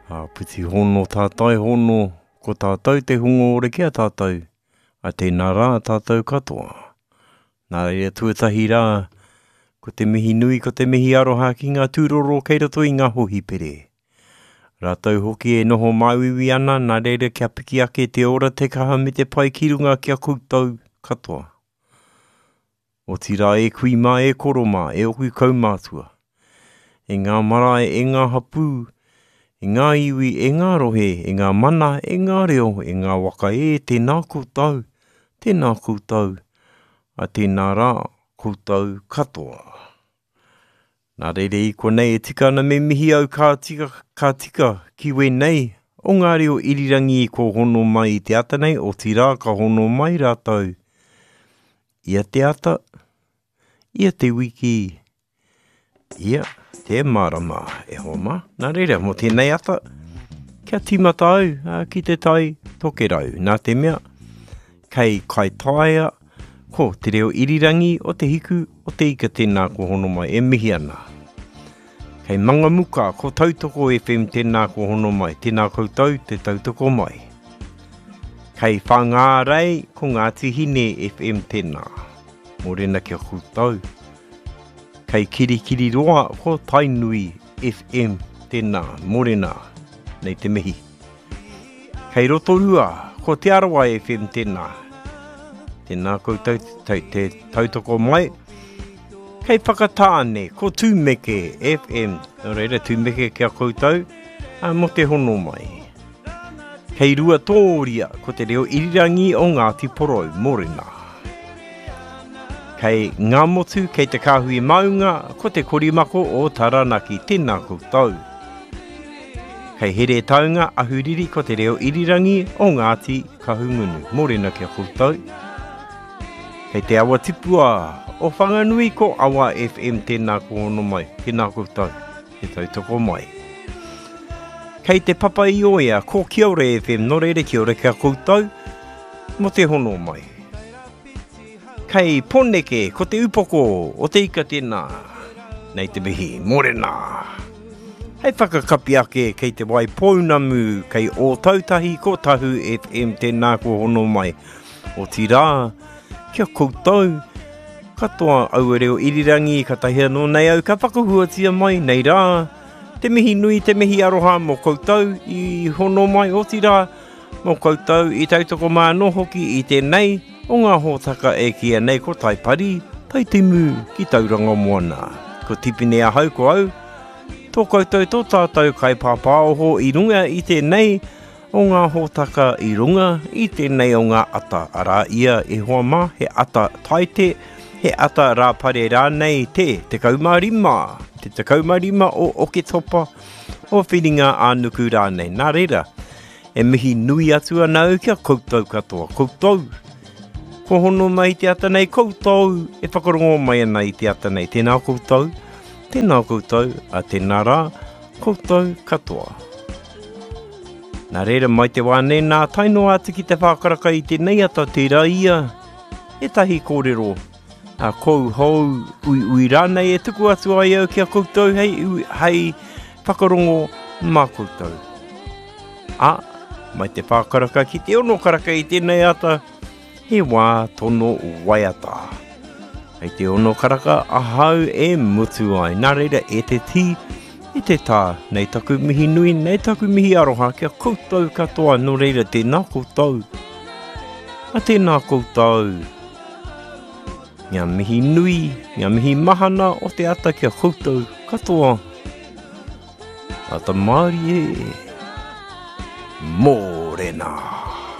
Āpiti hono tātai hono, ko tātou te hunga ora ki a tātou, a tēnā rā tātou katoa. Nā reira tuatahi rā, ko te mihi nui, ko te mihi aroha ki ngā tūroro kei roto i ngā hohipere. Rātou hoki e noho māuiui ana, nā reira kia piki ake te ora, te kaha me te pai ki runga ki a koutou katoa. Otirā e kui mā, e koro mā, e oku kaumātua. E ngā marae, e ngā hapū, e ngā iwi, e ngā rohe, e ngā mana, e ngā reo, e ngā waka e, tēnā koutou, tēnā koutou, a tēnā rā koutou katoa. Nā reira i konei e tika ana me mihi au ka tika, ka tika ki wēnei o ngā reo irirangi ko hono mai i te ata nei, otirā ka hono mai rātou ia te ata, ia te wiki, ia te marama e hoa mā. Nā reira, mō tēnei ata, kia tīmata au a, ki te tai tokerau. Nā te mea, kei Kaitaia, ko te reo irirangi o te hiku o te ika tēnā ko hono mai e mihi ana. Kei Mangamuka, ko Tautoko FM tēnā ko hono mai, tēnā koutou te tautoko mai. Kei Whangārei, ko Ngāti Hine FM tēnā. Mōrena ki a koutou. Kei Kirikiriroa, ko Tainui FM tēnā. Mōrena, nei te mihi. Kei Rotorua, ko Te Arawa FM tēnā. Tēnā koutou te, te tautoko mai. Kei Whakatāne, ko Tūmeke FM. Nō reira, Tūmeke ki a koutou, a, mō te hono mai. Kei Ruatōria, ko te reo irirangi o Ngāti Porou, mōrena. Kei Ngāmotu, kei Te Kāhui Maunga, ko te korimako o Taranaki, tēnā koutou. Kei Heretaunga, Ahuriri, ko te reo irirangi o Ngāti Kahungunu, mōrena ki a koutou. Kei Te Awa Tipua o Whanganui, ko Awa FM, tēnā ko hono mai, tēnā koutou, te tautoko mai. Kei Te Papa i Oea, ko Kia Ora FM, nō reira kia ora ki a koutou, mō te hono mai. Kei Poneke, ko te upoko o te ika tēnā. Nei te mihi, mōrena. Hei whakakapi ake kei te wai pounamu, kei Ōtautahi, ko Tahu FM tēnā ko hono mai. Otirā, kia koutou, katoa aua reo irirangi, katahi anō nei au ka whakahuatia mai nei rā, te mihi nui, te mihi aroha mō koutou i hono mai, otirā, mō koutou i tautoko mai anō hoki i tēnei o ngā hōtaka e kīia nei ko Taipari, Taitimu ki Tauranga Moana. Ko Tipene ahau ko au, tō koutou tō tātou kaipāpāoho i runga i tēnei o ngā hōtaka i runga i tēnei o ngā ata, arā ia e hoa mā, he ata taite, he ata rāpare rānei te 15, te 15 o Oketopa, o Whiringa ā-nuku rānei. Nā reira, e mihi nui atu ana au ki a koutou katoa. Koutou, ko hono mai te ata nei, koutou e whakarongo mai ana i te ata nei. Tēnā koutou, tēnā koutou, a tēnā rā, koutou katoa. Nā reira mai te wā nei nā tae noa atu ki te whākaraka i tēnei ata tērā ia ētahi kōrero a kou hou uiui rānei e tuku atu ai au ki a koutou hei, hei whakarongo mā koutou. A, mai te whākaraka ki te ono karaka i tēnei ata, he wā tono waiata. Hei te ono karaka ahau e mutu ai. Nā reira e te tī, e te tā, nei taku mihi nui, nei taku mihi aroha ki a koutou katoa, nō reira tēnā koutou. A tēnā koutou. Ngā mihi nui, ngā mihi mahana o te ata ki a koutou katoa. Ata mārie, mōrena.